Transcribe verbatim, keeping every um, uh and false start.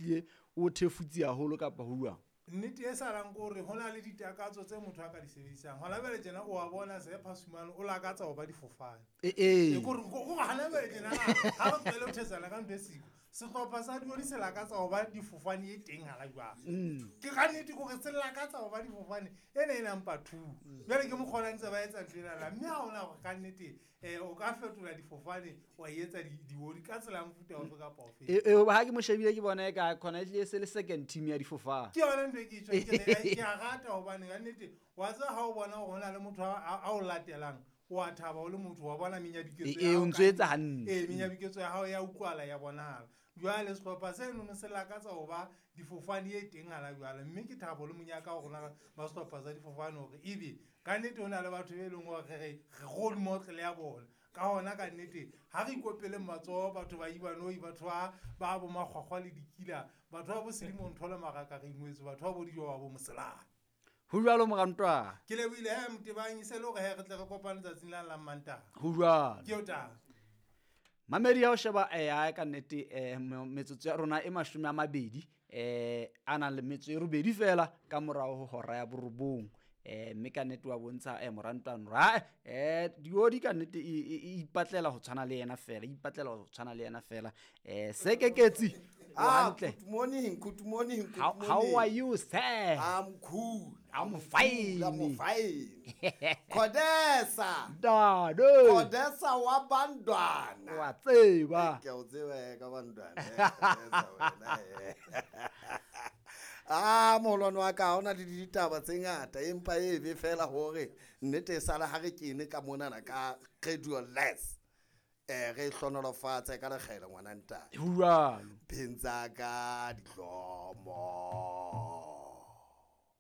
ehlile o thefutse haholo kapa ho jwang? Nnete e salang ke hore ho na le ditakatso tse motho a ka di sebedisang. Hona jwale tjena o wa bona se Phasumane o lakatsa ho ba difofane. E e. Ke hore hore hana jwale tjena ha re tlohele ho thetsana ka ntho e siko. Sehlopha sa Dioli se lakatsa ho ba difofane e teng hala jwale. Ke ka nnete ke hore se lakatsa ho ba difofane ena e number two. Jwale ke mokgwa ona ntse ba etsa ntho enana, mme ha hona hore ka nnete eh o ka fetola difofane wa etsa dioli ka tsela ya mofuta ofe kapa ofe. E e ha ke mo shebile ke bona e ka khona ehlile se le second team ya difofane. Ke yona ntho e ke tjho ke re ke a rata hobane ka nnete wa tseba ha o bona hore hona le motho a a o latelang, o a thaba o le motho wa bona menyabuketso E ya e hao o ntso ka etsa hantle. Ee, menyabuketso ya hao ya utlwahala ya bonahala. Jwale sehlopha senono se lakatsa ho ba difofane e teng hala jwale, mme ke thabo le monyaka wa rona ba sehlopha sa difofane hore ebe ka nnete ho na le batho be leng hore re re role model ya bona. Ka hona ka nnete ha re ikopeleng matsoho batho ba Ibanoi, batho ba ba bo Makgwakgwa le Dikila, batho ba bo Selemo Ntho le Maraka re ingwetse, batho ba bo Dijo ba bo Moselane. Ho jwalo morantwa. Ke lebohile he Motebang, e se le hore he re tle re kopane tsatsing la la Mantaha. Ho jwalo. Ke eo taba. Mamedi ya ho sheba eh ha ka nnete eh metsotso ya rona e mashome a mabedi eh a nang le metso e robedi fela ka morao ho hora ya borobong. Eh mme ka nnete wa bontsha eh morantwana ra eh diodi ka nnete e ipatlela ho tshwana le yena fela, e ipatlela ho tshwana le yena fela. Eh Sekeketsi o Ah, hantle. good morning, good morning, good How, how morning. are you, sir? I'm cool. I'm fine. Cool, I'm fine. Khodesa. Dade. Khodesa wa bandwana. Wa tseba. Ke o tseba eh, ka bandwana. eh, Khodesa wena, eh. Ah, moholwane wa ka ha hona le ditaba tse ngata empa e be fela hore nnete e sala ha re kene ka monana ka radio less. Eh re hlonolofatse ka lekgele ngwana ntate. Ho jwalo. Pheng tsa ka dihlomo.